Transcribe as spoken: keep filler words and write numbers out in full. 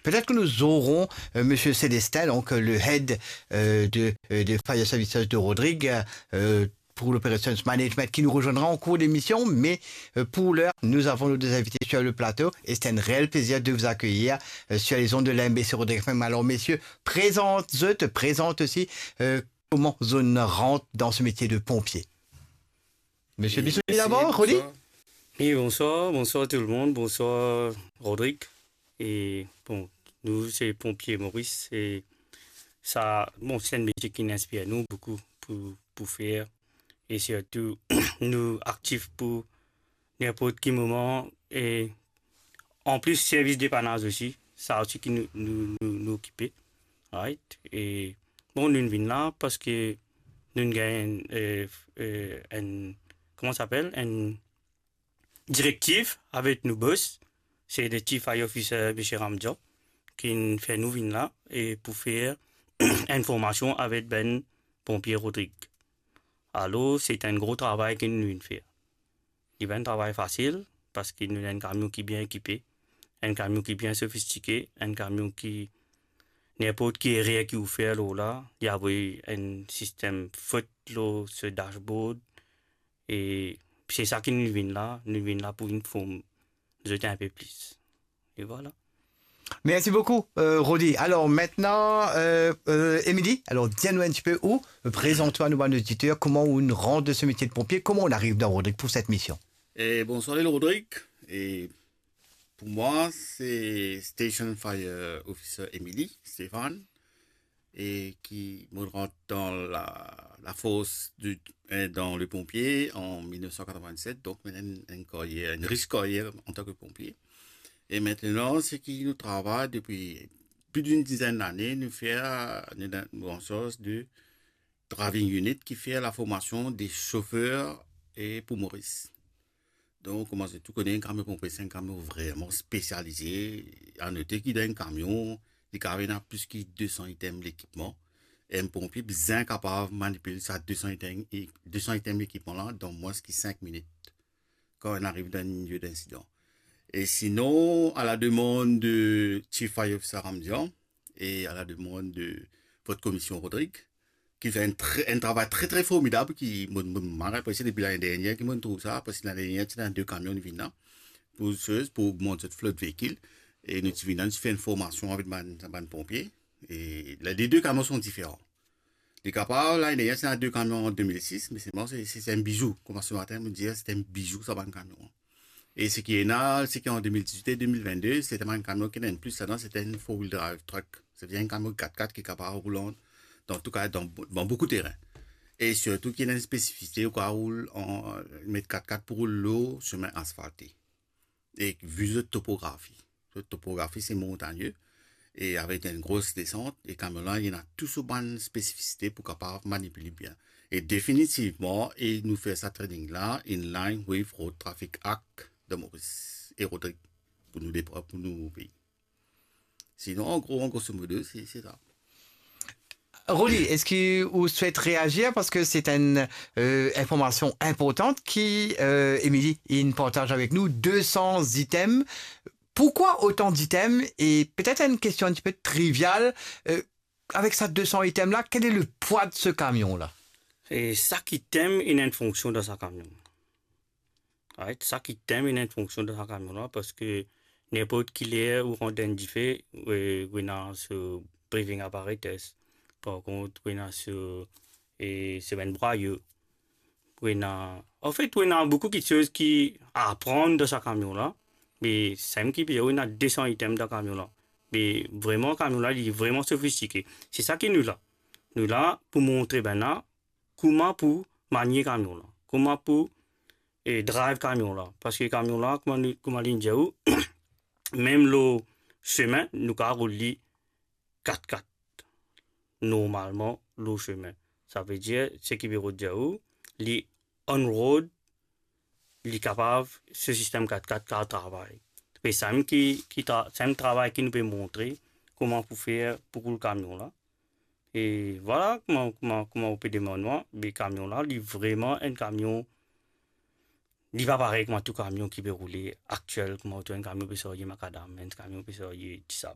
Peut-être que nous aurons, euh, Monsieur Célestin, donc, euh, le head, euh, de, euh, de Fire Services de Rodrigues, euh, pour l'operations management, qui nous rejoindra en cours d'émission, mais, euh, pour l'heure, nous avons nos deux invités sur le plateau et c'est un réel plaisir de vous accueillir, euh, sur les ondes de l'A M B C Rodrigues F M. Alors, messieurs, présente, je te présente aussi, euh, comment on rentre dans ce métier de pompier. Monsieur Bissoni d'abord, Rodi ? Bonsoir. Oui, bonsoir, bonsoir tout le monde, bonsoir Rodrigue. E bon, nou se ponpie Moris, e sa, bon, se enn metie ki inspir nou boukou pou, pou fer, e sirtou nou aktif pou ninport ki moman, e anplis servis depanaz osi, sa osi ki nou, nou, nou, nou okipe, right? E bon, nou vinn la parski nou gagn, e, e, enn, kouma sa apel, enn direktiv avek nou bos, se le Chief Fire Officer, Misie Ramdian, ki fer nou vinn la, e pou fer enn formasion avek bann ponpie Rodrig. Alor, se enn gro travay ki nou vinn fer. Li pa enn travay fasil, parski nou ena enn kamion ki bien ekipe, enn kamion ki bien sofistike, enn kamion ki, ninport ki erer ki ou fer lor la, li avoy enn sistem fot lor so dashboard, e se sa ki nou vinn la, nou vinn la pou vinn form zot enn pe plis. E vwala. Merci beaucoup, euh, Rodi. Alors maintenant, euh, euh, Émilie, alors dis-nous un petit peu où, euh, présente-toi à nos auditeur, comment on rentre de ce métier de pompier, comment on arrive dans Rodrig pour cette mission. E bonsoir, Lil Rodrig. E pou mwa, se Station Fire Officer Émilie, Stéphane, e ki mo rant dan la, lafors de, e, dan le ponpie an mil nef san katrovin-set, donk mo ena enn, enn karyer, enn rich karyer antan ki ponpie. E aster, se ki nou travay depi plis d'enn dizenn lane, nou fer, nou, nou an sarz de driving unit ki fer laformasion de sofer e pou Moris. Donk, kouma zot tou kone, enn kamion ponpie, se enn kamion vreman spesialize. A note ki dan enn kamion, li kapav ena plis ki de san item lekipman. Enn ponpie bizin kapav manipil sa de san item, e de san item lekipman la dan mwins ki sink minit, kan inn ariv dan enn lie dinsidan. E sinon, à la demande de Chief Fire Officer Ramdian et à la demande de votre commission, Rodrig, ki fer enn tre, enn travay tre, tre formidab, ki mo, mo, mo mal apresie depi lane dernier ki mo trouv sa, parski lane dernier ti ena de kamion, nou vinn la pou, pou ogmant zot flot veikil, e nou ti vinn la, nou ti fer enn formasion avek bann, bann ponpie, e la, les deux camions sont différents. Li kapav, lane dernier ti ena de kamion an de mil sis, me selman se, se, se enn bizou. Kouma se matin mo dir, se enn bizou sa bann kamion. E seki ena, seki an de mil diz-wit e de mil vinn-de, se enn kamion ki ena enn plis ladan, se enn four wheel drive truck. Savedir enn kamion kat-kat ki kapav roul an, dan tou ka, dan, dan boukou terin. E sirtou ki ena enn spesifisite, ou kapav roul an, met kat-kat pou roul lor semin asfalte. E vi zot topografi, zot topografi se montagne, e avek enn gro desant, e kamion la, li ena tou so bann spesifisite pou kapav manipil li bien. E definitivman, e nou fer sa training la in line with Road Traffic Act de Maurice e Rodrig, pou nou de, pou nou pei. Sinon, an gro, an grosso modo, se, se sa. Rodi, eski ou swet reazir? Parski se enn, euh, informasion inportan ki, euh, Émilie inn partaz avek nou, de san item. Pourquoi autant d'items? E petet enn kestion enn tipe trivial, euh, avek sa de san item la, quel est le poids de ce camion là? E sak item ena enn fonksion dan sa kamion. Right? Sak item ena enn fonksion dan sa kamion la, parski ninport ki ler ou rant dan enn dife, ou, ou ena so breathing apparatus. Par kont, ou ena so, e, so bann brwayo. Ou ena, anfet, ou ena boukou kiksoz ki a pran dan sa kamion la. Me samem ki pe dir ou ena de san item dan kamion la. Me vreman, kamion la, li vreman sofistike. Se sa ki nou la. Nou la pou montre bann la kouma pou manie kamion la, kouma pou, e, drive kamion la. Parski kamion la, kouma nou, kouma linn dir ou, mem lor semin, nou kapav roul li kat-kat. Normalman, lor semin. Savedir, seki pe rod dir ou, li on road, li kapav, so sistem kat-kat kapav travay. Pe samem ki, ki tra-, samem travay ki nou pe montre, kouma pou fer pou roul kamion la. E vwala, kouma, kouma, kouma ou pe demann mwa, be kamion la, li vreman enn kamion, li pa parey kouma tou kamion ki pe roule aktiel, kouma ou trouv enn kamion pe sarye makadam, enn kamion pe sarye disab.